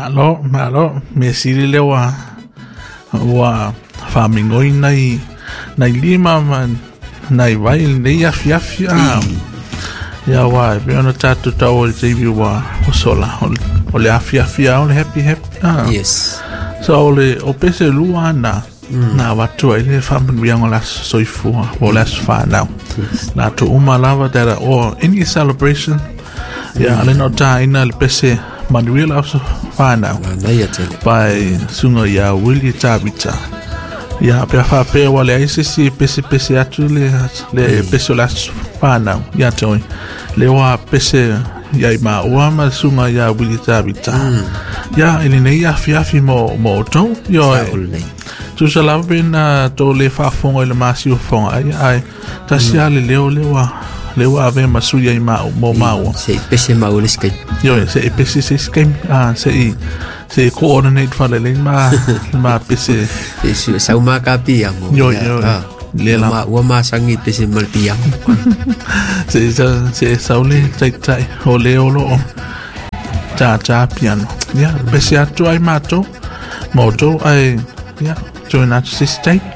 Malo, malo, mea sili lea ua ua faamigoi nai nai lima ma nai vai i lenei afiafi a. Ia aua e pei ona tatou taua i le taimi ua sola o le afiafi lava o le happy happy a. Yes. So o le o pese lua na na avatu ai le faamanuiaga o le aso soifua po o le aso fanau. Yes. Latou uma lava that are or any celebration ia le na o taina le pese manuia le aso fanau Manaia tele. by susuga ia Willie Tavita. Ia pe a faapea ua leai se isi e pesepese atu le, le pese o le aso fanau ia te oe. Le ua pese ia i maua ma le susuga ia Willie Tavita. Ia i lenei afiafi mo, mo outou. Ioe. Sao lelei. Tusa lava pe na tou le faafofoga i le masiofo ai, ae tasi lava le leo lea ua lea ua avea ma sui ai mau mo maua. Se i pese maua le isi taimi. Ioe, se i pese se isi taimi, ah, se i se i coordinate faalelei ma ma pese. Se i sau ma ka piamo. Ioe, ioe. Ah. Le la. Ua masangi pese ma le piamo. Se i se i sau le taitai o le o loo tātā piano. Ia, pese atu ai mātou, ma outou, ai, ia, join atu se isi taimi.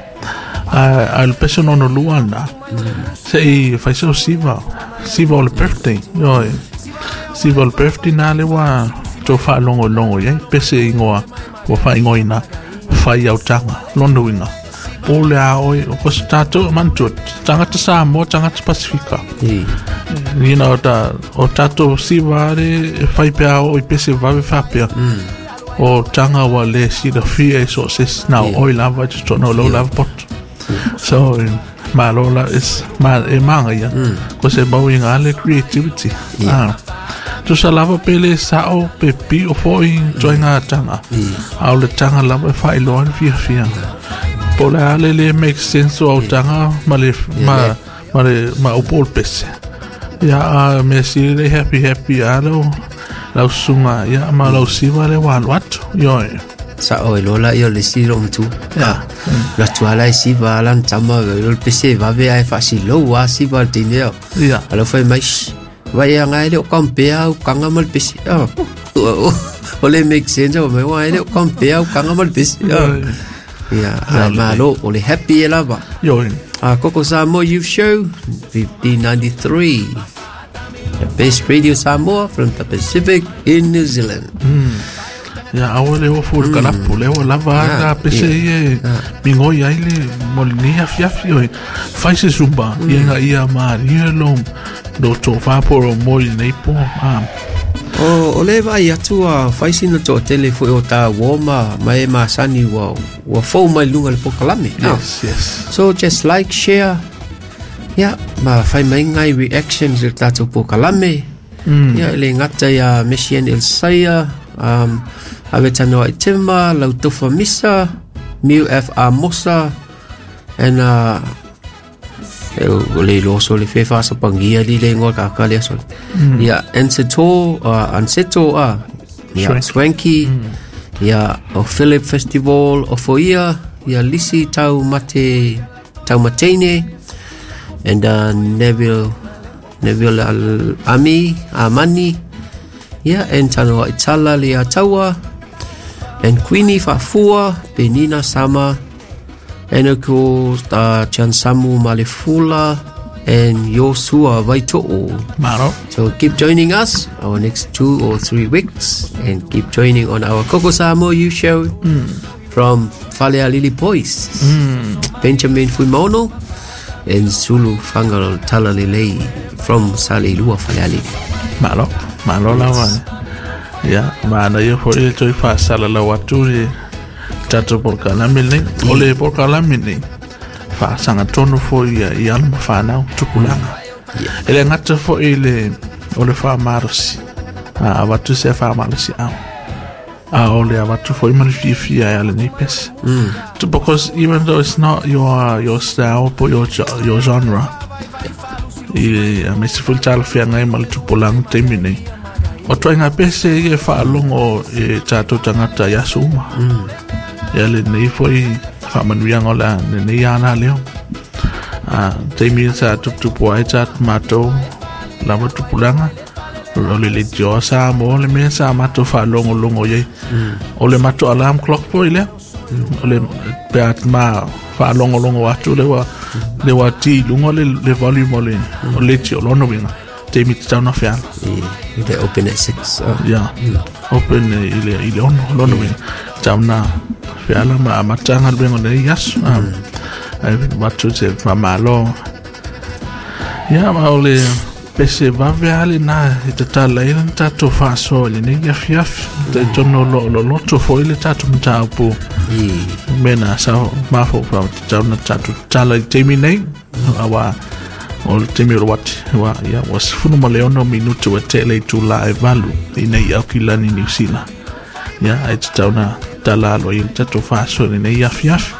Ae, ae le pese lona lua lena, se i fai sau siva, siva o le birthday, ioe, siva o le birthday na le ua tou faalogologo i ai, pese ingoa ua faaigoaina fai autaga, lona uiga, po o le a oe, o se tatou, manatua, tagata Samoa, tagata Pasifika. You know, ta, o tatou siva are e fai pea o i pese vave faapea. O tanga ua le silafia e so o se isi, na o oe lava i totonu o lou lava poto. So, malo la, it's, ma, e māngaia, ko se mau i ngā le creativity. Ah. Tusa lava pe le sao, pe pio foi, toi ngā tanga. A o le tanga lava e whailoa le fiafia. Po le a le le make sense o au tanga ma le, ma, ma le, ma upu o le pese. Ia, a mea sili le happy happy a lau, lau susuga, ia, ma lau siva le ua alu atu. Ioe. Sao e loa laia o le isi loomatua. Ia. Alu atu lava la e siva lana tama, o le pese e vave ae faasilou lava siva i le teine ao. Ia. Ae lau fai mai, shh, vai e aga e le o compare au ukaga ma le pese. Ah. O le make sense o mai, ua e le o compare ukaga ma le pese. Ah. Ia, ae malo, o le happy e lava. Ioe. A Koko Samoa Youth Show, 1593. The best radio Samoa from the Pacific in New Zealand. Ia, aua le ofo i le kalapu, lea ua lava a Ah, na pese ia. ia e migoi ai le mo lenei afiafi oe. Fai se zumba, ia ina ia malie lou lou tofa po o lou moe i lenei po. Ah, O, o le vaai atu a fai sina toatele foi o tā uo ma, ma e masani ua, ua fou mai luga le pokalame. Ah. yes, yes. So just like, share, yeah, ma fai mai ngai reactions i le tatou pokalame. Yeah, e le gata ia Messian Elsaia, Ave Tanoa i Tima, Lautofa Misa, Miu F. Amosa, and e o le iloa sole fe faasapagia li le ingoa kaka lea sole. Ia, Anseto, Anseto, ia, Swanky. Swanky, ia, o Philip Festival, o Foia, ia, Lisi Tau Mate, Tau Mateine, and Neville, Neville Al Ami, Amani, ia, and Tanoa Itala Lea Taua, and Queenie Faafua, Penina Sama, and of course, Chansamu Malefula, and Yosua Vaito'o. Malo. So keep joining us our next 2 or 3 weeks, and keep joining on our Koko Samoa Youth Show from Falealili Boys, Benjamin Fuimono, and Sulu Fangalo Talalelei from Saleilua Falealili. Malo, malo lava. Ia, manaia foi le toe faasalalau atu le tatou polokalame lenei. O le polokalame lenei, faasagatonu foi ia i alo ma fanau, tupulaga. E le gata foi le o le faamalosi, a avatu se faamalosi ao. A o le avatu foi ma le fiafia e ala nei pese. Because even though it's not your style po your your genre, i a me se foi le talafeagai ma le tupulaga taimi nei. O ituaiga pese ia e faalogo e tatou tagata i aso uma. Ia lenei foi faamanuiaga o le a lenei ana leo. A taimi sa tuputupu ai tatou matou lava tupulaga, O le leitioa Samoa le mea sa matou faalogologo i ai. O le matou alarm clock foi lea. O le pe a ma faalogologo atu le ua le ua ti i luga le volume o le leitio lona uiga taimi tatau ona feala. They open at 6. Yeah. Open i le 6 lona uiga tatau ona feala ma amata galuega o lenei aso. Ai avatu se faamalo. Ia ma o le pese vave lava lena e tatala ai le tatou faasoa i lenei afiafi. Talitonu o lo o loloto foi le tatou mataupu mea na sa mafaufau tatau ona tatou tatala i le taimi nei. Aua o le taimi o le uati ua ia ua 16 minute ua tele i itula e 8 i nei Aukilani Niu Sila. Ia ae tatau ona tatala aloaia le tatou faasoa i lenei afiafi.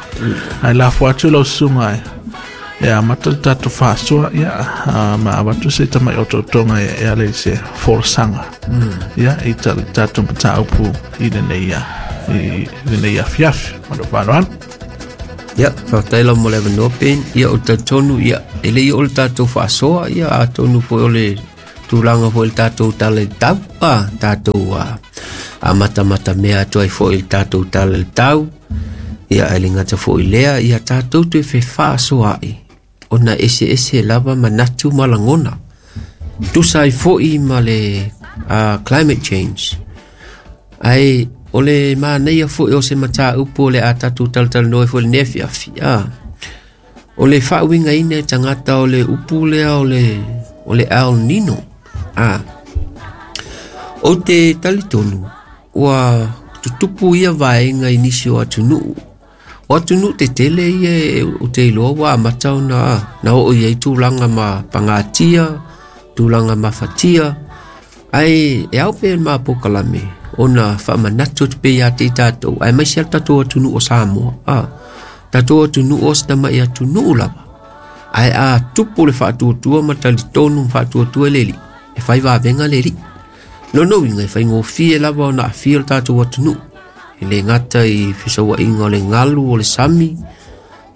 Ae lafo atu lau susuga e amata le tatou faasoa, ia ma avatu se tamai otootoga e ala i se folasaga ia i le tatou mataupu i lenei afiafi. Ma lou faaaloalo. Ia, faafetai lava mo le avanoa Ben. Ia, o le talitonu, ia, e le i oo le tatou faasoa, ia, atonu foi o le tulaga foi i le tatou tala i le tau, a, tatou amatamata mea atu ai foi i le tatou tala i le tau, ia, ae le gata foi i lea, ia tatou toe fefaasoaai, ona eseese lava manatu ma lagona. Tusa ai foi ma le climate change. Ae o le manaia foi o se mataupu o le a tatou talatalanoa ai foi i lenei afiafi. O le faauigaina e tagata o le upu lea o le El Nino. O te talitonu ua tutupu ia vaega i nisi o atunuu. O atunuu tetele ia o te iloa ua amata ona na oo i ai tulaga ma pagatia, tulaga mafatia. Ae e ao pea ma polokalame ona faamanatu atu pea ia te i tatou, aemaise lava le tatou atunuu o Samoa. Tatou atunuu o se tamai atunuu lava. Ae a tupu le faatuatua ma talitonu ma faatuatua le alii, e fai vavega le alii. Lona uiga e faigofie lava ona aafia le tatou atunuu. E le gata i fesauaiga o le galu o le sami,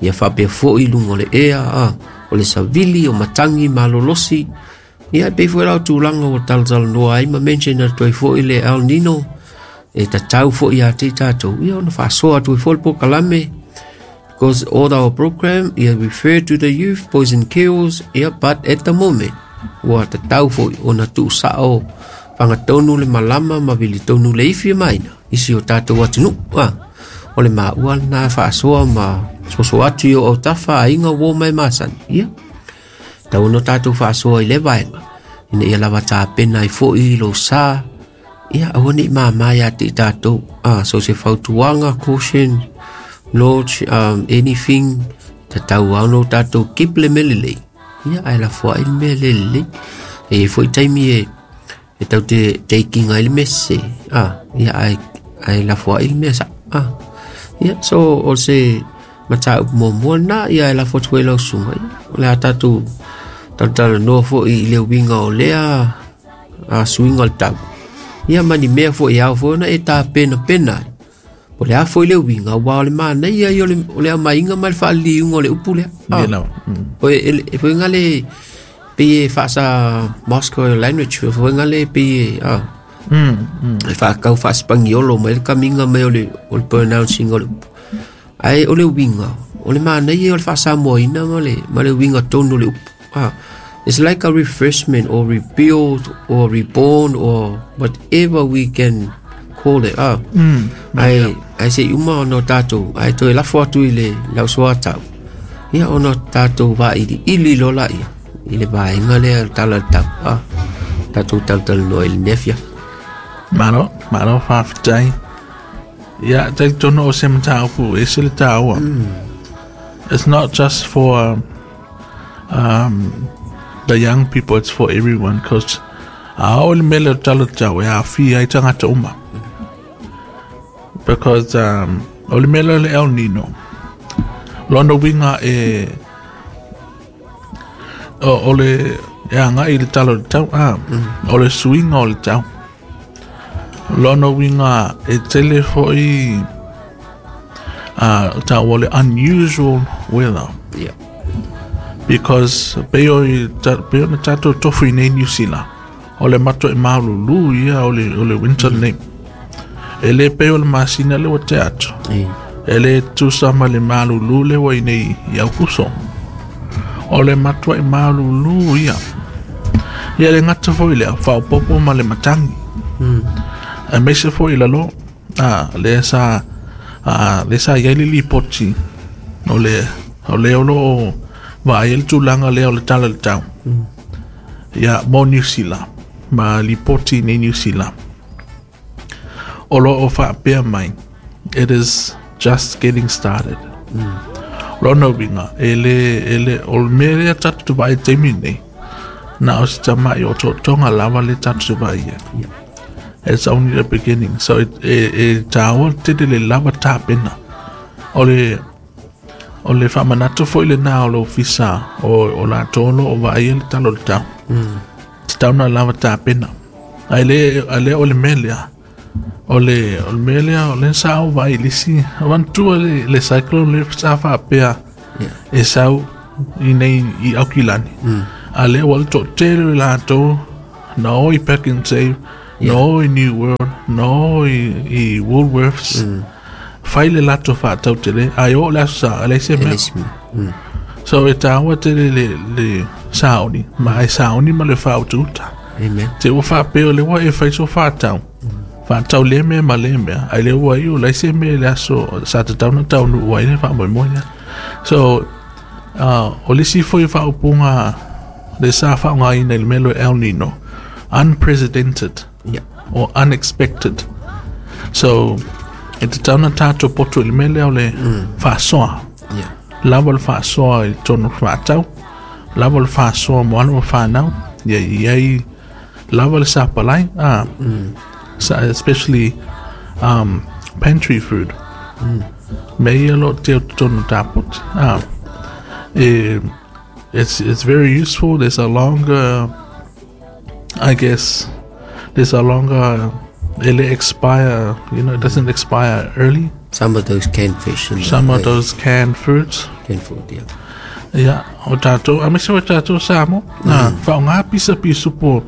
ia faapea foi i luga o le ea, o le savili, o matagi malolosi. Ia e pei foi la o tulaga ua talatalanoa ai ma mention atu ai foi le El Nino, e tatau foi ia te i tatou, ia ona faasoa atu ai foi le polokalame, because all our program, ia refer to the youth, boys and girls, ia, but at the moment, ua tatau foi ona tuusao fagatonu le malama ma vilitonu le ifi e maina, isi o tatou atunuu. O le maua lena faasoa ma soso atu i o autafa aiga uo mai masani. Ia, tau ona tatou faasoa i le vaega, ina ia lava tapena ai foi lou sa, ia aua ne i mama ia te i tatou. So se fautuaga, caution, knowledge, anything, tatau lava ona o tatou keep le mea lelei, ia ae lafoai le mea le lelei. E i ai foi taimi e tau te taking ai le mea sese, ia ae lafoai le mea sao. Ia, so o se mataupu muamua lena, ia ae lafo atu foi lau susuga, ia, o le a tatou talatalanoa foi i le uiga o lea suiga o le tau. Ia ma ni mea foi e ao foi ona e tapenapena ai. O le a foi le uiga, aua o le manaia ia o le aumaiga ma le faaliliuga o le upu lea. Ia lava. O e foi ngale pei e faasa Moscow language, foi ngale pei e e whaakau whaaspangiolo mai le kamiga mai o le pronouncing o le upu. Ae o le uiga, o le manaia o le faasamoaina ma le uiga tonu o le upu. It's like a refreshment or rebuild or reborn or whatever we can call it. Ae se i uma ona o tatou, ae toe lafo atu i le lausoatau, ia ona tatou vailiili loa laia i le vaega lea o le tala o le tau. Tatou talatalanoa i lenei afiafi. Malo, malo faafetai. Ia, talitonu o se mataupu e ese le taua. It's not just for the young people, it's for everyone, because a oo le mea lea o le tala o le tau e aafia ai tagata uma. Because o le mea lea o le El Nino, lona uiga e o le e agai i le tala o le tau, o le suiga o le tau. Lona uiga e tele foi taua o le unusual weather. Yeah. Because pei ona tatou tofu i nei New Zealand. O le matuaʻi malulu ia o le winter lenei. E le pei o le masina le ua tea atu. E le tusa ma le malulu le ua i nei i Aukuso. O le matuaʻi malulu ia. Ia le gata foi lea, faaopoopo ma le matagi. Aemaise foi i lalo, lea sa i ai le lipoti o le o loo vaai ai le tulaga lea o le tala i le tau. Ia, mo Niu Sila, ma lipoti nei Niu Sila. O loo faapea mai, it is just getting started. Lona uiga, e le, o le mea lea tatou te vaai i le taimi lenei, na o se tamai otootoga lava le tatou te vaai ai. It's only the beginning. So, e tāua tele le lava tapena. O le faamanatu foi lena o le ofisa o latou o loo vaai ai le tala o le tau. Tatau ona lava tapena. Ae le o le mea lea. O le mea lea, o le sa ou vaai i le isi. Manatua le cyclone le sa faapea e sau i nei i Aukilani. A lea ua le toatele i latou na o i Pack and Save, na o i New World, na o i Woolworths. Fai le latou faatautele, ae oo le aso sa, e leai se mea. So e tāua tele le saoni, ma e saoni ma le faautauta. Amen. Te ua faapea o le ua e fai so faatau. Faatau le mea ma le mea, ai le ua iu leai se mea i le aso sa tatau na taunuu ai le faamoemoe lea. So, o le isi foi faaupuga le sa faaaogaina i le mea lea o El Nino, unprecedented or unexpected. So, e tatau na tatou poto i le mea lea o le faasoa. Lava le faasoa i totonu o le faatau, lava le faasoa mo alo ma fanau, ia i ai lava le sapalai, especially pantry food. Mea ia o loo teu totonu o tapoti. It's very useful. There's a longer, I guess, there's a longer, it expire, you know, it doesn't expire early. Some of those canned fish. And some of those canned foods. Canned food, yeah. Yeah, o tātou, a mese o tātou Samoa, whaonga pisa pisupo,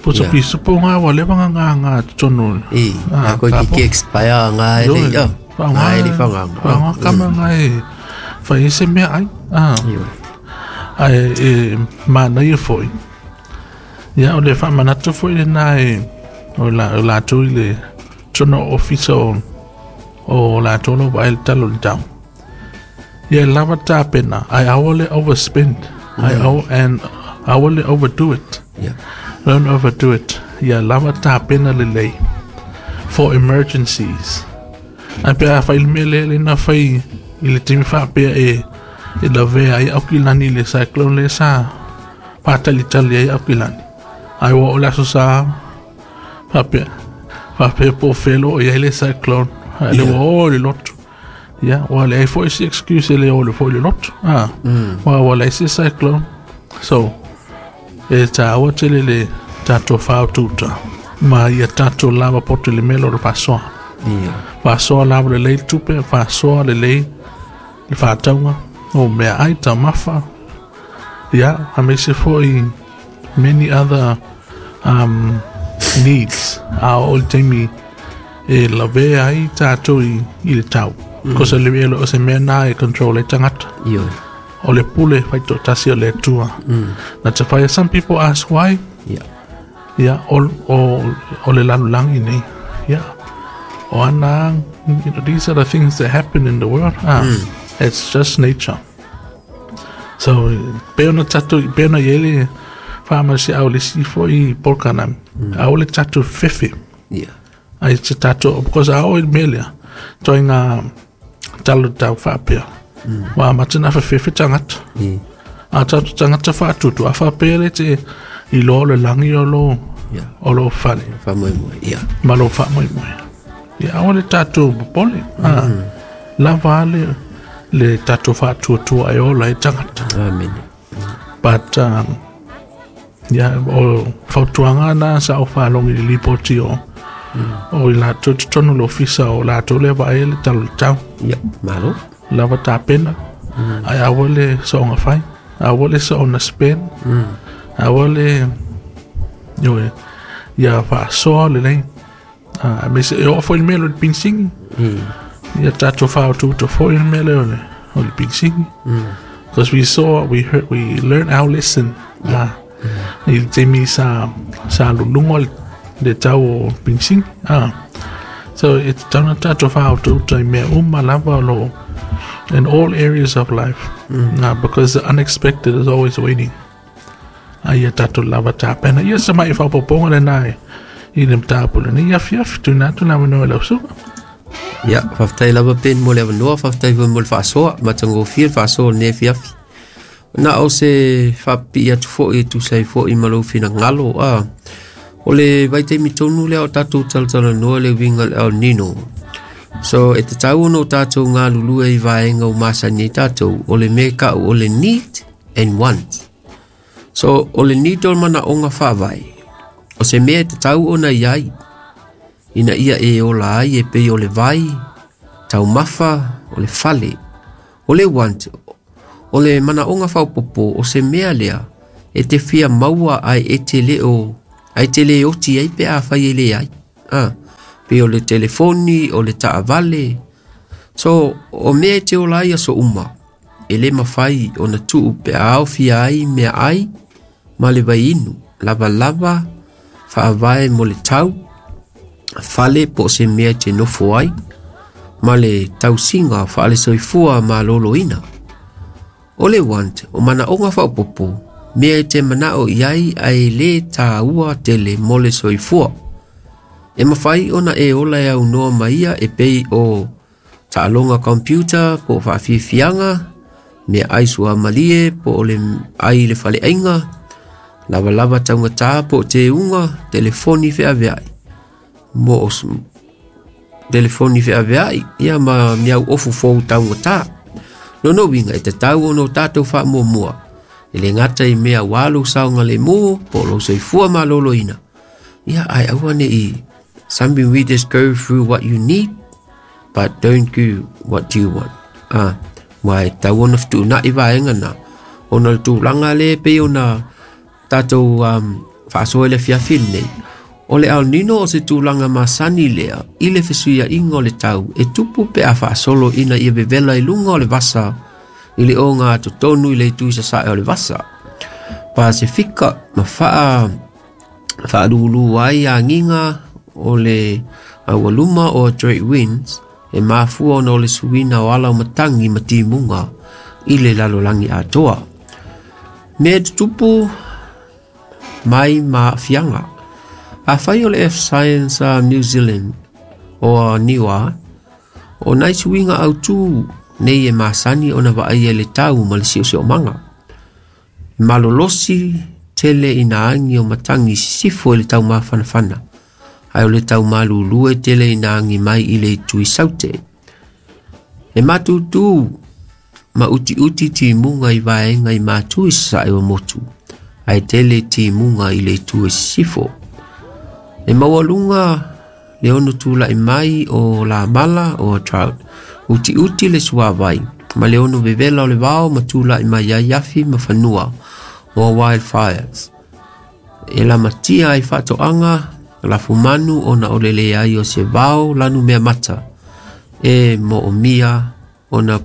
pusa pisupo ngā wa lewa ngā ngā tonu. E, a koe ki expire ngā ele, ngā ele whaonga. Whaonga kama ngā e, whai ese mea ai. Ai, e, mānaia foi. Ia, o le whaamanatu foi le nā e, o lātou i le tono ofisa o lātou lo vaai le talo le tau. Ia, lava tapena, ai aua le overspend, and aua le overdo it. Yeah. Don't overdo it. Ia, lava tapena lelei for emergencies. Ai pe a whai le mea le na whai i le timi whaapea e lavea ai Aukilani le cyclone le sa whātalitali ai Aukilani. Ai ua o le aso sa whaapea po whelo i ai le cyclone. Ai le ua o le lotu. Ia, ua le ai foi si excuse le o le foi le lotu. Ua le ai si cyclone. So, e tāua tele le tātou whaotuta. Ma ia tātou lava poto le melo le whasoa. Whasoa lava le lei tupe, whasoa le lei le whaataunga. O mea ai taumafa. Ia, a mese foi many other needs. A o le taimi e lavea ai tātou i le tau. Kosa le mea o se mea nā e control e tangata. O le pule whaito tasi o le atua. Na te whaia, some people ask why. Yeah, o le lalulangi nei. Yeah. O ana, you know, these are the things that happen in the world. It's just nature. So, pe ona tatou, pe ona iele whaamasi au le si foi polkanami. Au le tatou fefe. Yeah. Ai te tatou, because au i melea, toi ngā talo tau whaapea. Wa matana whawhefe tangata. A tatou tangata whaatutu, a whaapea le te i loa o le langi o lo, o lo whale. Whamoemoe, yeah. Ma lo whamoemoe. Ia, aua le tatou popole. Lava le tatou whaatuatua e ola e tangata. Amen. But, ia, o fautuaga na sa o whaalongi le lipoti o o i latou totonu le ofisa o latou le vaai le talo le tau. Ia, malo. Lava tapena. Ai aua le soonga fai. Aua le soonga spend. Aua le, ioe, Ia faasoa lelei. Aemaise e oo foi i le mea lea o le penisini. Ia tatou faaotuotu foi i le mea lea o le penisini. Because we saw, we heard, we learned our lesson. I le taimi sa sa luluga le tau o penisini. So e tatau ona tatou faaotuotu i mea uma lava o lo o in all areas of life. Because the unexpected is always waiting. A ia tatou lava tapena. Ia se mai faaopoopoga lena i le mataupu lenei afiafi. Tuuina atu le avanoa i lau susuga. Ia, faafetai lava Ben mo le avanoa, faafetai foi mo le faasoa, matagofie le faasoa o lenei afiafi. Na o se faapipii atu foi e tusa ai foi ma lou finagalo. O le vaitaimi tonu lea o tatou talatalanoa le uiga o le El Nino. So e tatau ona o tatou galulue i vaega ua masani ai tatou, o le mea e tau o le need and want. So o le need o le manaoga faavae, o se mea e tatau ona i ai ina ia e ola ai e pei o le vai, taumafa, o le fale. O le want, o le manaoga faaopoopo, o se mea lea e te fia maua ae e te le o ae te le oti ai pe afai e leai. Pei o le telefoni, o le taavale. So, o mea e te ola ai aso uma, e le mafai ona tuu pe a aofia ai meaai ma le vaiinu, lavalava, faavae mo le tau, fale po o se mea e te nofo ai, ma le tausiga faale-soifua maloloina. O le want, o manaoga faaopoopo, mea e te manao i ai ae le taua tele mo le soifua. E mafai ona e ola e aunoa ma ia e pei o taaloga computer po o faafiafiaga, meaai suamalie po o le ai i le faleaiga, lavalava taugata po o teuga, telefoni feaveai, mo o telefoni feaveai, ia ma miau ofu fou taugata. Lona uiga e tatau ona o tatou faamuamua, e le gata i mea ua lou saogalemu po o lou soifua maloloina, ia ae aua ne i something we just go through what you need but don't do what you want. Ua e tatau ona fetuunai vaega na, ona o le tulaga lea e pei ona tatou faasoa i le afiafi lenei. O le El Nino o se tulaga masani lea i le fesuiaiga o le tau e tupu pe a faasolo ina ia vevela i luga o le vasa i le oga totonu i le itu i sasae o le vasa. Pasefika ma faa faalulu ai agiga o le aualuma o Trade Winds e mafua ona o le suiga o ala o matagi ma timuga i le lalolagi atoa. Mea e tutupu mai ma aafiaga. Afai o le Earth Science a New Zealand o a NIWA, o nai suiga autū nei e masani ona vaaia i le tau ma le siosiomaga. E malolosi tele ina agi o matagi sisifo i le taumafanafana, ae o le taumalulu e tele ina agi mai i le itu i saute. E matutu ma utiuti timuga i vaega i matu i sasae o motu, ae tele timuga i le itu e sisifo. E maualuga le ono tulai mai o lamala o drought, utiuti le suavai, ma le ono vevela o le vao ma tulai mai ai afi ma fanua o wildfires. E lamatia ai faatoaga lafumanu ona o le leai o se vao lanu mea mata e moomia ona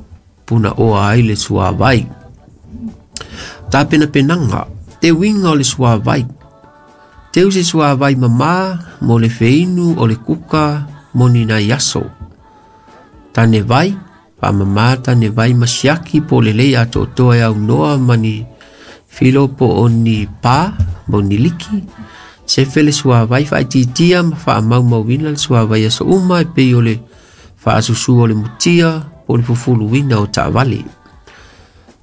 punaoa ai le suavai. Tapenapenaga, te uiga o le suavai. Teu se suavai mamā mo le feinu o le kuka mo ni nai aso. Tane vai, faamamā tane vai ma siaki po o lelei atoatoa e aunoa ma ni filo po o ni pā mo ni liki. Sefe le suavai faaitiitia ma faamaumauina le suavai aso uma e pei o le faasusu o le mutia po o le fufuluina o taavale.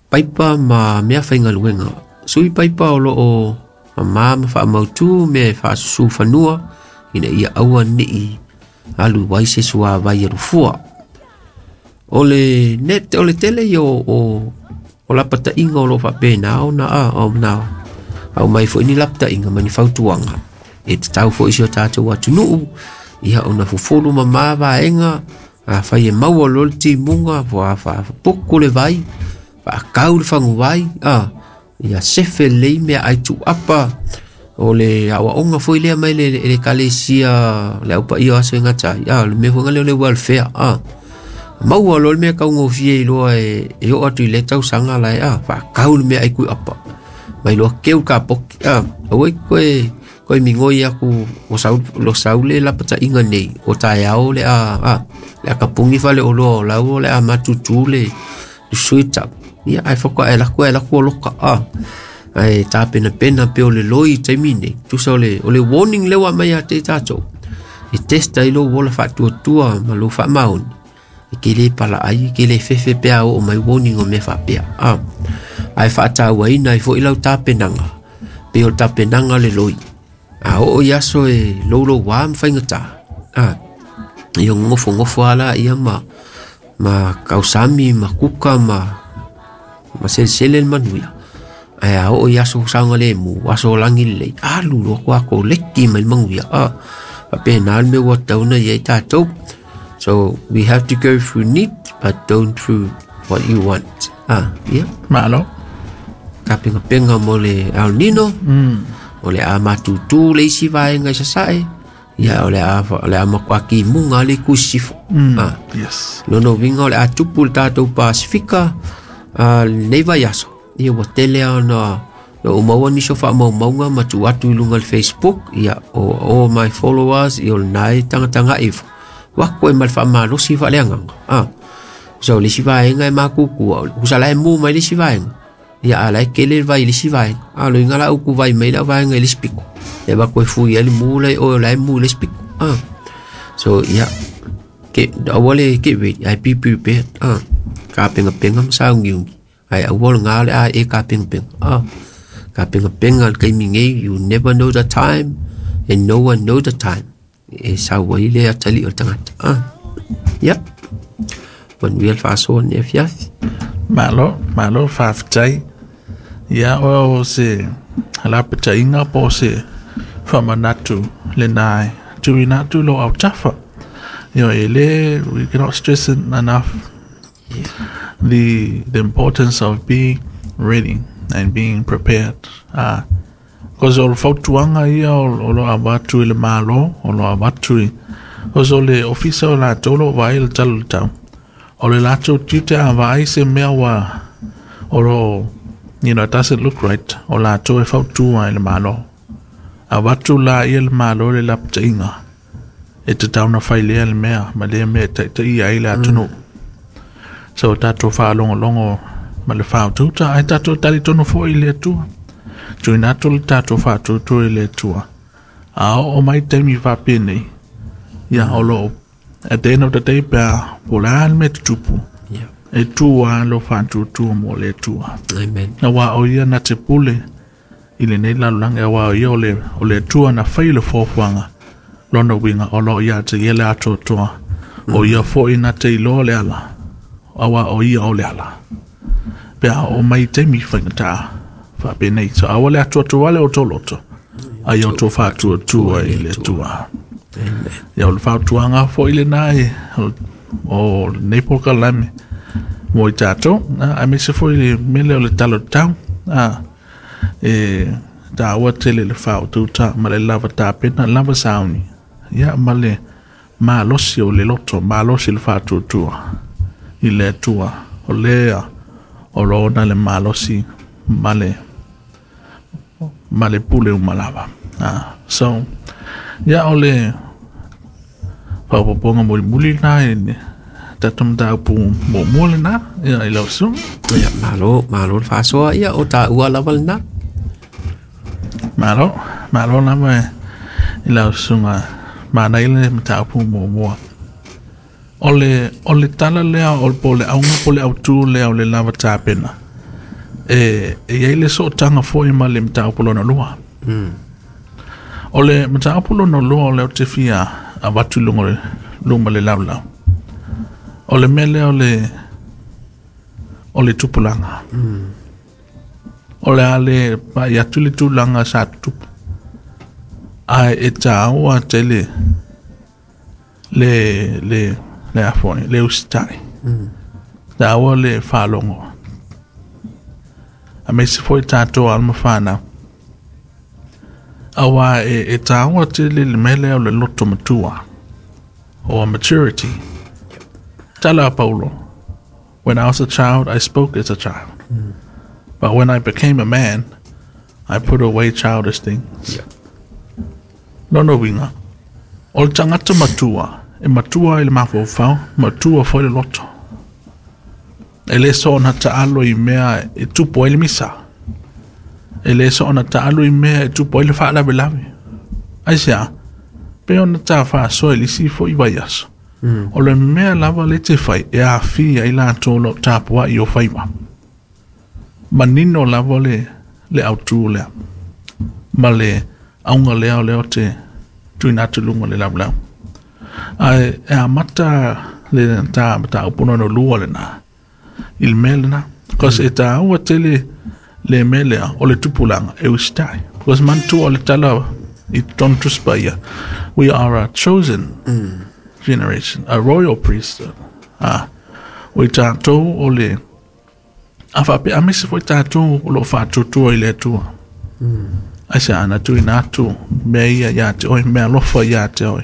Paipa ma mea faigaluega. Sui paipa o loo mamā ma faamautū mea e faasusu fanua ina ia aua nei alu ai se suavai alufua. O le net o le tele ia o lapataiga o loo faapena ona ona aumai foi ni lapataiga ma ni fautuaga e tatau foi i si o tatou atunuu ia ona fufulu mamā vaega afai e maua loa le timuga faapuku le vai faakau le faguvai ia sefe lelei meaai tuuapa O le aoaoga foi lea mai le le ekalesia le aupaia o aso e gata ai, a, o le mea foi lea o le welfare, a. Maua loa le mea taugofie iloa e oo atu i lea tausaga la e, a, faakau le mea ai kui apa. Mai loa keu ka poki, a, aua e koe koe migoi aku o sau lo sau le lapataiga nei o taeao le a, a, le a kapugi fale oloa o lau o le a matutu le sui tau. Ia ai whaka e laku o loka, a. Ai tā pena pena pe o le loi taimi nei. Tusa o le warning lewa mai a te tātou. E testa i lo wola whaatuatua ma lo whaamaoni. E ke le pala ai, ke le fefe pea o mai warning o mea whapea. A. Ai whaataua ina i fo i lau tā penanga. Pe o tā penanga le loi. A o i aso e lolo wā mwhaingata. A. I o ngofo ngofo ala ia ma kausami, ma kuka, ma selsele manuia. Ai a o i aso saunga le mu, aso langi le, alu lo kwa ko leki mai manguia. A, pape nā me wa tauna i tātou. So we have to go through need, but don't through what you want. Ah, yeah. Malo. Ka penga penga mo le El Nino. O le a matutu le isi vaenga i sasae. Ia o le a makuaki munga le kusifo. Ah. Yes. Lono winga o le a tupu le tātou Pasifika, nei vai aso. Ia ua tele ana o maua niso wha maumaunga ma tu atu i lunga le Facebook, ia o all my followers, ia o le nai tangatanga ifo. Wako e mal wha malosi wha leanganga. Ah. So le si vaenga e makukua, husa lai mu mai le si vaenga. Ia a lai kele vai le si vaenga. A lo inga la uku vai mai la vaenga i le spiko. Ia wako e fui ali mu lai o lai mu le spiko. Ah. So ia, ke, awale ke ready, ai be prepared. Ah. Ka penga penga masaungi ungi. Ai awal ngā le a e ka penga penga. Ah. Ka penga penga kai mingi, you never know the time and no one know the time. E sawa i le atali o tangata. Ah. Yep. Manuel whaasoa ne fiafi. Malo, malo whawhitai. Ia o se lapatainga po se whamanatu le nai. Tuinatu lo au tafa. You know, ele, we cannot stress it enough. Yeah. The importance of being ready and being prepared. Because o le fautuanga ia o lo avatu i le malo, o lo avatu i, cause o le ofisa o la tolo vai le talo le tau. O le lato tiute a vai se mea wa, o lo, you know, it doesn't look right. O la to e fautua i le malo. Avatu la ia le malo le lapatainga. E te tauna whailea le mea, ma le mea te te ia i le atunu. So tātou whaalongo ma le whaotuta, ai tātou tari tono fo i le atua. Tuina atu le tātou whaotutu i le atua. A o mai taimi whapene, ia o lo, at the end of the day pea, po le al me te tupu. Yeah. E tua lo whaotutu mo le atua. Amen. Na wā o ia na te pule, i le nei lalulanga, e wā o ia o le atua na whai le fōfuanga, lona winga o lo ia te ia le atoatoa. O ia fo i na te iloa le ala. Awa o ia o le ala. Pea o mai taimi whaingata whapenei. So awa le atuatua le o tō loto. Ai o tō whaatuatua i le atua. Ia o le whaatuanga fo i le nai o nei poka lame mo i tātou. A me se fo i le mele o le talo tau. E tā awa tele le whaatuta ma le lava tāpena lava sauni. Ia ma le malosi o le loto, malosi le whaatuatua i le atua. O lea o lona le malosi ma le pule umalava. So, ia o le whapoponga muli muli nā e tātou mtāupu mō mua le nā, ia i lau sunga. Ia, malo, malo le whasoa ia o tā ua lava le nā. Malo, malo lava i lau sunga mānai le mtāupu mō mua. O le tala lea o po le aunga po le autu lea o le lava tāpena. E iai le sootanga foi ma le mtāupu lona lua. O le mtāupu lona lua o le o te fia a watu lunga luma le laulau. O le mele o le tupulanga. O le ale pa i atu le tupulanga sa tupu. Ai e tāua te le le afoi, le ustai. Tāua le whalongo. A me se foi tātou alma whānau. Auā e tāua tele le mea lea o le loto matua, or maturity. Tala a Paulo, When I was a child, I spoke as a child. But when I became a man, I put away childish things. Lona uiga, o le tagata matua, e matua i le mafaufau, matua foi le loto. E le soona taalo i mea e tupu ai le misa. E le soona taalo i mea e tupu ai le faalavelave. Aisea? Pei ona ta faasoa i le isi foi vaiaso. O le mea lava lea e te fai e aafia ai latou o lo o tapuai i ou faiva. Manino lava le, le autu lea ma le auga lea o lea ou te tuuina atu i luga o le laulau. Ae e amata le ta mataupu lona lua lena i le mea lena. Because e tāua tele le mea lea o le tupulaga e usitai. Because manatua o le tala i totonu Tusi Paia, we are a chosen generation, a royal priesthood. Ah, o i tātou o le a faapea aemaise foi tātou o lo o faatuatua i le Atua. Aisea, na tuuina atu mea ia ia te oe, mea alofa ia te oe.